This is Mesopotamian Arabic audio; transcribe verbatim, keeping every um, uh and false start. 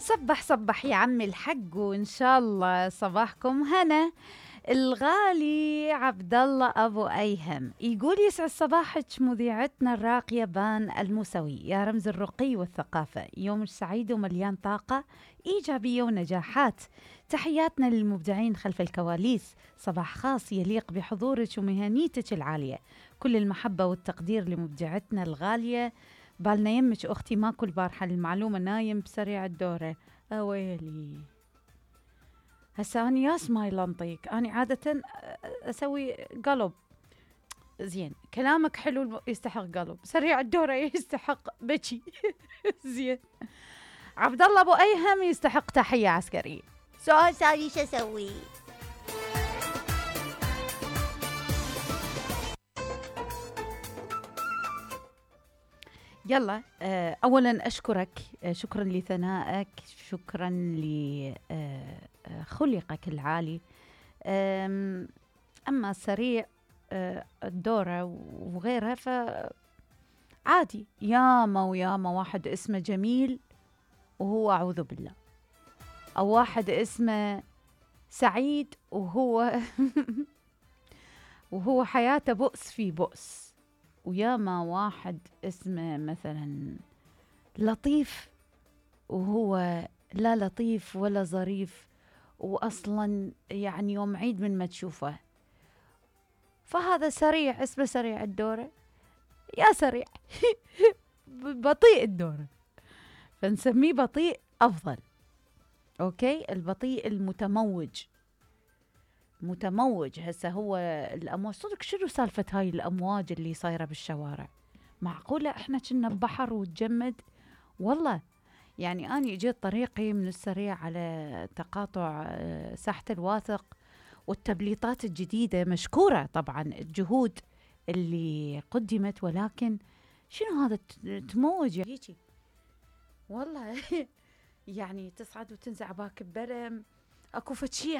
صبح صبح يا عمي الحق، وإن شاء الله صباحكم هنا. الغالي عبد الله أبو أيهم يقول: يسعد صباحك مذيعتنا الراقية بان الموسوي، يا رمز الرقي والثقافة، يوم سعيد ومليان طاقة إيجابية ونجاحات. تحياتنا للمبدعين خلف الكواليس، صباح خاص يليق بحضورك ومهنيتك العالية. كل المحبة والتقدير لمبدعتنا الغالية. بالنا يمك أختي ماكو البارحة المعلومة، نايم بسريع الدورة. أويلي هسا أنا ياس ما يلنطيك، أنا عادة أسوي قلب. زين كلامك حلو يستحق قلب، سريع الدورة يستحق بكي. زين عبد الله أبو أيهم يستحق تحية عسكرية. سؤال ثاني شو أسوي؟ يلا أولا أشكرك، شكرا لثنائك، شكرا لخلقك العالي. أما سريع الدورة وغيرها فعادي، ياما وياما واحد اسمه جميل وهو أعوذ بالله، أو واحد اسمه سعيد وهو وهو حياته بؤس في بؤس، وياما واحد اسمه مثلا لطيف وهو لا لطيف ولا ظريف، وأصلا يعني يوم عيد من ما تشوفه. فهذا سريع، اسمه سريع الدورة، يا سريع بطيء الدورة، فنسميه بطيء أفضل. أوكي، البطيء المتموج، متموج. هسه هو الأمواج صدق، شنو سالفة هاي الأمواج اللي صايرة بالشوارع؟ معقولة إحنا كنا ببحر وتجمد؟ والله يعني أنا جيت طريقي من السريع على تقاطع ساحة الواثق، والتبليطات الجديدة مشكورة طبعا الجهود اللي قدمت، ولكن شنو هذا تموج هيجي؟ والله يعني تصعد وتنزع باك ببرم، اكو فتشي